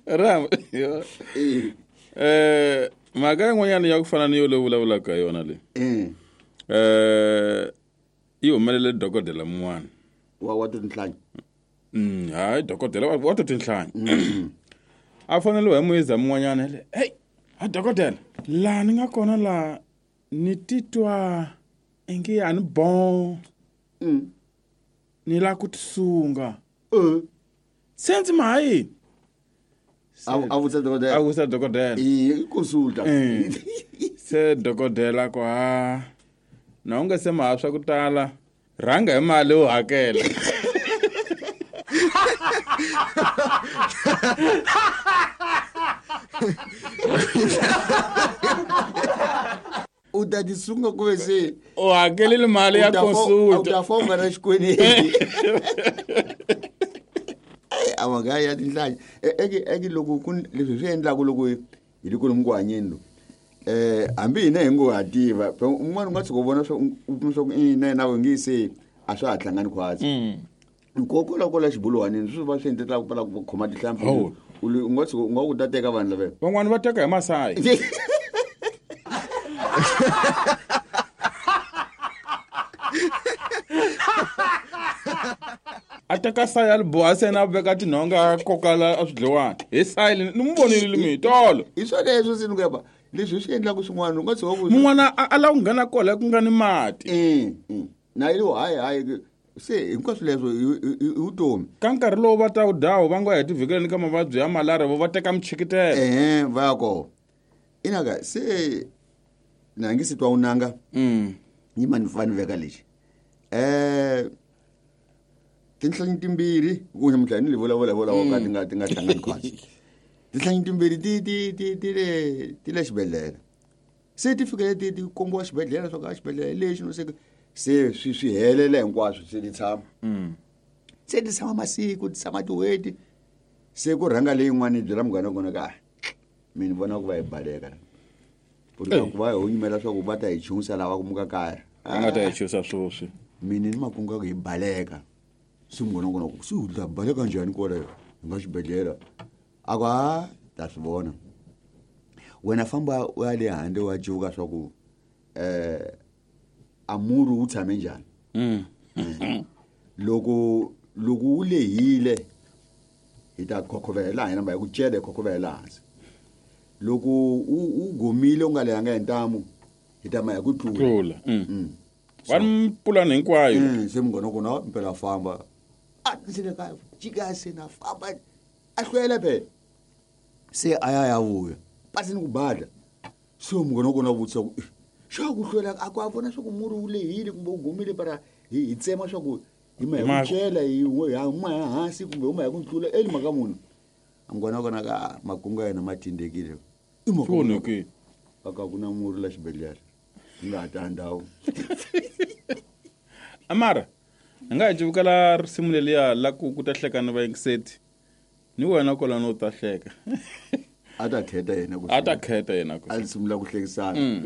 Ram mhaka yin'wanyana ya ku fana ni yo leyi vulavulaka hi yona leyi yi humelele dokodela mun'wana wa tinhlanyi. Hayi, dokodela wa to tinhlanyi a fanele hi muyiza mun'wanyana le, hey, a dokodela, laha ni nga kona laha ni titwa ingi a ni bon, ni lava ku tisunga. Se ndzi ma yini? A vutisa dokodela. A vutisa dokodela. I consulta. Se dokodela ku ha na u nga se maha swa ku tala, rhanga hi mali u hakela. U ta tisunga ku ve se u hakelile mali ya consulta. U ta fa u nga na xikweleti. A mhaka ya tinhlanyi eke loko ku leswi swi endlaku loko hi le kolomu ku hanyeni loku, hambi hina hi ngo ha tiva un'wana u nga tshuka u vona swa u kuma swa ku i na yena nge se a swa ha hlangani khwatsi. Nkokola kola xibuluwanini swi va swi endlela ku pfala ku khoma tihlampfi. U nga tshuka u nga ku ta teka vanhu lava van'wani va teka hi masayi. A teka sayi a li boha se na veka tinhonga a koka la a swidliwani hi sayi ni n'wi vonile mi tolo. Hi swa leswo se ni ku yaba leswi swi endlaku swin'wana u nga tshuka ku mun'wana a lava ku nghena kola ku nga ni mati. Na yi hayi hayi se hinkwaswo leswo i vutomi. Ka nkarhi lowu va ta wu dawu va ngo hi tivhikeleni ka mavabyi ya malaria vo va teka michikitelo. Ehe, va ya kona. Inaka se na ngi se twa unanga. Yima ni fa ni veka lexi. Tinhlanyi timbirhi ku namuntlha ni vulavula vola ka ti nga hlangani khwatsi. Tinhlanyi timbirhi ti le xibedhlele. Se ti fikele ti kombiwa xibedhlele swa ka xibedhlele lexi no se se swi helela hinkwaswo se ti tshama. Se ti tshama masiku, ti tshama tin'hweti. Se ku rhanga leyin'wana yi byela munghana wa kona ka, mina ni vona ku va hi baleka. Ku ri ku va hi hunyumela swa ku va ta hi chuhisa lava ku muka kaya. Va nga ta hi chuhisa swoswi. Mina ni makungu ya ku hi baleka. Se munghana wa kona ku se u ta baleka njhani kwalayo hi nga xibedhlele? A ku ha ta swi vona. Wena famba u ya le handle wa cuvuka swa ku a murhi wu tshame njhani. Loko wu lehile hi ta khokhovela hina hi ku cela hi khokhovela hansi. Loko u gomile u nga lehanga hi ntamu hi ta ma hi ku tlula. Tlula. Va ni pulani hinkwayo. Se munghana wa kona mpela famba. A ndzi le kaya, jika se na famba. A hlwela phela. Se a ya ya vuya. Pasi ni ku badla. Se munghana wa kona a vutisa ku, xa ku hlwela a ku a vona swa ku murhi wu lehile kumbe wu gomile para hi tsema swa ku hi ma hi ku cela hi huma hi hansi kumbe huma hi ku tlula eli mhaka munhu. Munghana wa kona ka makungu ya yena ma tindekile. I mhaka Swi onhakile. A ka ku na murhi la xibedhlele. Hi nga ha ta ndhawu. Amara, hi nga hi civukela risimu leliya la ku ta hleka ni vayingiseti. Ni wena kwalano u ta hleka. A ta kheta yena ku A ta kheta yena ku A sungula ku hlekisana.